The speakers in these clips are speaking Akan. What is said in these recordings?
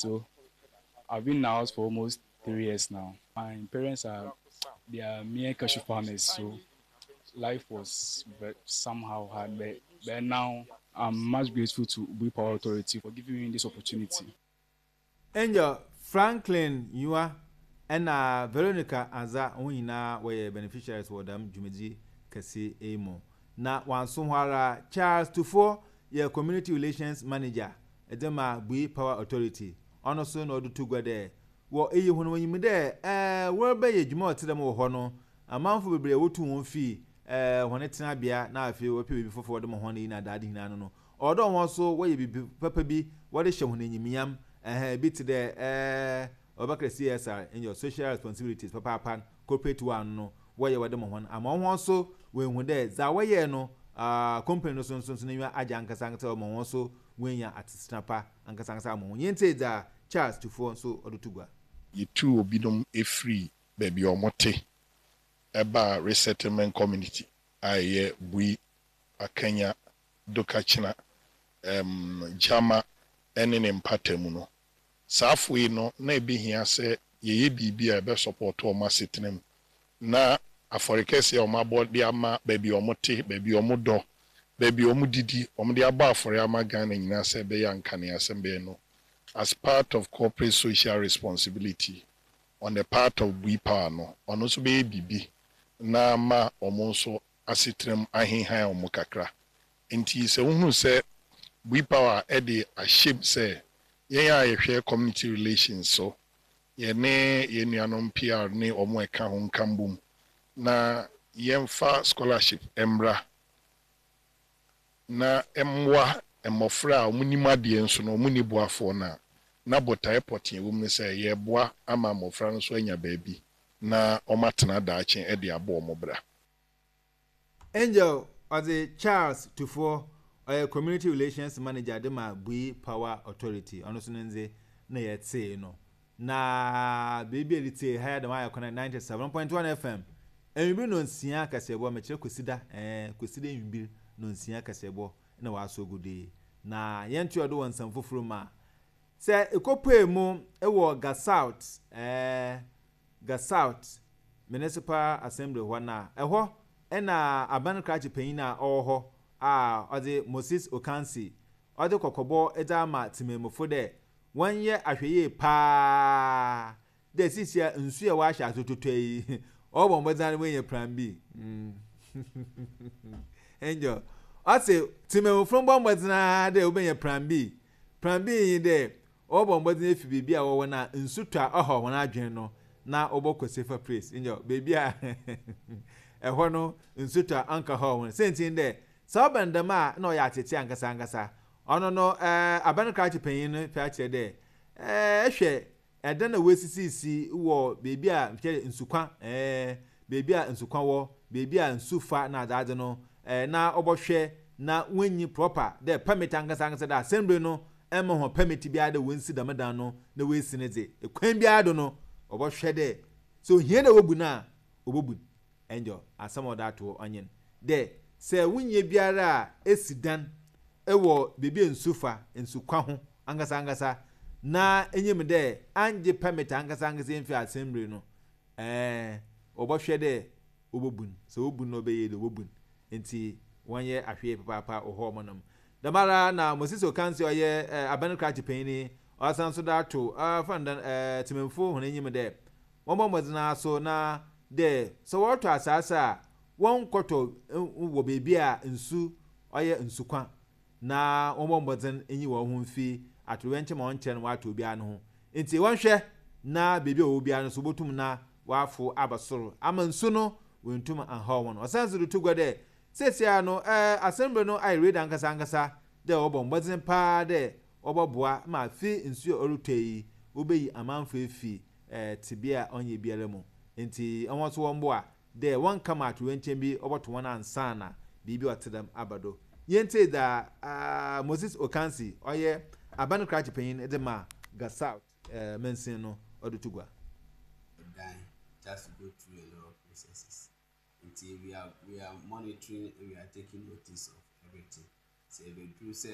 So I've been in the house for almost 3 years now. My parents are, they are mere cashew farmers, so life was somehow hard. But now I'm much grateful to Bui Power Authority for giving me this opportunity. Angel Franklin Yua ɛna Veronica Anza, wɔn nyinaa wɔyɛ beneficiaries wɔ dɛm dwumadzi kɛse yi mu. Na wanso hɔ ara, Charles Tufoɔ yɛ community relations manager ɛde ma Bui Power Authority. Ɔno nso na ɔde to gua dɛ wɔ eyi ho no, wɔnyim dɛ wɔrebɛyɛ dwuma a ɔte dɛm wɔ hɔ no, amanfo bebree a wotu wɔn fi wɔn tenabea na afei wɔpɛ biribi foforɔ wɔde ma wɔn yi na adaade nyinaa no, ɔwɔ dɛ wɔn nso wɔyɛ biribi papa bi wɔde hyɛ wɔn enyimnyam. Bi te dɛ ɔbɛka CSR, ɛnyɛ social responsibilities papaapa, corporate one no wɔyɛ wɔde ma wɔn ama wɔn nso wɔn dɛ dza wɔyɛ no company no so nso n'enyiwa agye ankasa ankasa, wɔma wɔn nso wɔanya asetena pa ankasa ankasa ama wɔn. Yɛn ti dza Charles Tufoɔ nso ɔde to gua. Yɛtu obinom efiri baabi a wɔte ɛbaa resettlement community a ɛyɛ Bui, Akanya, Dokakyina, Gyama ne ne mpata mu no. Saa afo yi no, na ebi hia sɛ yɛyɛ biribi a ɛbɛ support wɔn asetena mu na afɔre kɛseɛ a wɔn abɔ de ama baabi a wɔte, baabi a wɔdɔ, baabi a wɔdidi, wɔn de abɔ afɔre ama Ghana nyinaa sɛ ɛbɛyɛ ankanea asɛm bɛyɛ no, as part of corporate social responsibility on the part of Bui Power no, ɔno nso bɛyɛ biribi na ama wɔn nso asetena mu ahenhan wɔn kakra. Nti sɛ wohunu sɛ Bui Power de ahyɛm sɛ yɛn a yɛhwɛ community relations so, yɛne yɛn nuanom PR ne wɔn a ɛka ho nka mbom na yɛmfa scholarship mmra na mmoa mmɔfra a wɔnim adeɛ nso no wɔn ni boafoɔ no a, na botaeɛ pɔtee wɔ mu no sɛ yɛreboa ama mmɔfra no nso anya baabi na wɔatena daakye de abɔ wɔn bra. Angel ɔdze Charles Tufoɔ, ɔyɛ community relations manager de ma Bui Power Authority, ɔno nso ne ndze na yɛtee no. Na beebi a yɛde ha yɛ dɛm ayɛ kɔnɛ 97.1 FM enwibir no nsia kaseɛbɔ, mekyerɛ Kwesida, Kwesida enwibir no nsia kaseɛbɔ na wasɔ gu do yi. Na yɛntoa do wɔ nsɛm foforɔ mu a, sɛ ekɔpue mu wɔ Ga South, Ga South Municipal Assembly hɔ na ɛhɔ ɛna aban krakye panyin a ɔwɔ hɔ a ɔdze Moses Okansi, ɔdze kɔkɔbɔ dze ama temammufo dɛ wɔnyɛ ahwɛyie paa dɛ sisia nsu a wɔahyɛ ase totɔ yi, ɔbɔ mbɔdzen no wɔanya plan B. Angel ɔse temammufo mbɔ mbɔdzen ara dɛ wɔbɛnya plan B. Plan B yi dɛ ɔbɔ mbɔdzen efi beebi a wɔwɔ no a nsu tɔ a ɔhaw hɔn adwen no na wɔbɔkɔ safer place. Angel beebi a ɛhɔ no nsu tɔ a ɔnka haw hɔn. Sɛnti dɛ sɛ ɔbɛn dɛm a na ɔyɛ atete ankasa ankasa. Ɔno no aban krakye panyin no pɛ akyerɛ dɛ ɛhwɛ ɛdan a wɔasisisi wɔ beebi a kyerɛ nsukwa, beebi a nsukwa wɔ, beebi a nsu fa na adze no, na ɔbɔhwɛ na wɔnyi proper dɛ permit ankasa ankasa dɛ assembly no ɛma wɔn permit biara dɛ wɔnsi dɛm dan no na wɔasi ne dze kwan biara do no, ɔbɔhwɛ dɛ sɛ ohia dɛ wɔbu no a, wɔbɛbu. Ɛnjɔ asɛm a ɔda ato ɔnyen dɛ sɛ wonyɛ biara a esi dan wɔ beebi a nsu fa, nsukwa ho ankasa ankasa na enyim dɛ angye permit ankasa ankasa mfi assembly no, wɔbɔhwɛ dɛ wɔbɛbu no. Sɛ wɔbu no na ɔbɛyɛ dɛ wɔbɛbu no, nti wɔnyɛ ahwɛyie papaapa wɔ hɔ ɔmonom. Dɛm ara na Moses Okansi a ɔyɛ aban krakye panyin, ɔsan so de ato fandan temamufo hɔn enyim dɛ wɔmbɔ mbɔdzen ara so na dɛ sɛ wɔrotɔ asaase a, wɔnkɔtɔ wɔ beebi a nsu ɔyɛ nsukwa na wɔmbɔ mbɔdzen nyi hɔn ho mfi atoyerɛnkyɛm a ɔnnkyɛr no wɔato obiara no ho. Nti wɔnhwɛ na beebi a wɔwɔ biara no so wobotum na wɔafo aba sor ama nsu no woenntum annhaw hɔn. Ɔsan so de to gua dɛ seseiara no assembly no ayɛ ready ankasa ankasa dɛ wɔbɔ mbɔdzen paa dɛ wɔbɔboa ma afe nsu a ɔrotɔ yi wobeyi amanfo efi tsebea a ɔnnyɛ biara mu. Ntsi hɔn so wɔmboa dɛ wɔnka ma atoyerɛnkyɛm bi ɔbɔto hɔn ansaana biribi a ɔtse dɛm aba do. Yɛntsie dza Moses Okansi, ɔyɛ aban krakye panyin dze ma Ga South mansin no, ɔde to gua. Dan just to go through a lot of processes. Nti we are monitoring and we are taking notice of everything. Sɛ ebeduru sɛ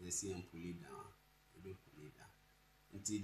yɛsi yɛn pull it down a, yɛbɛ pull it down. Nti.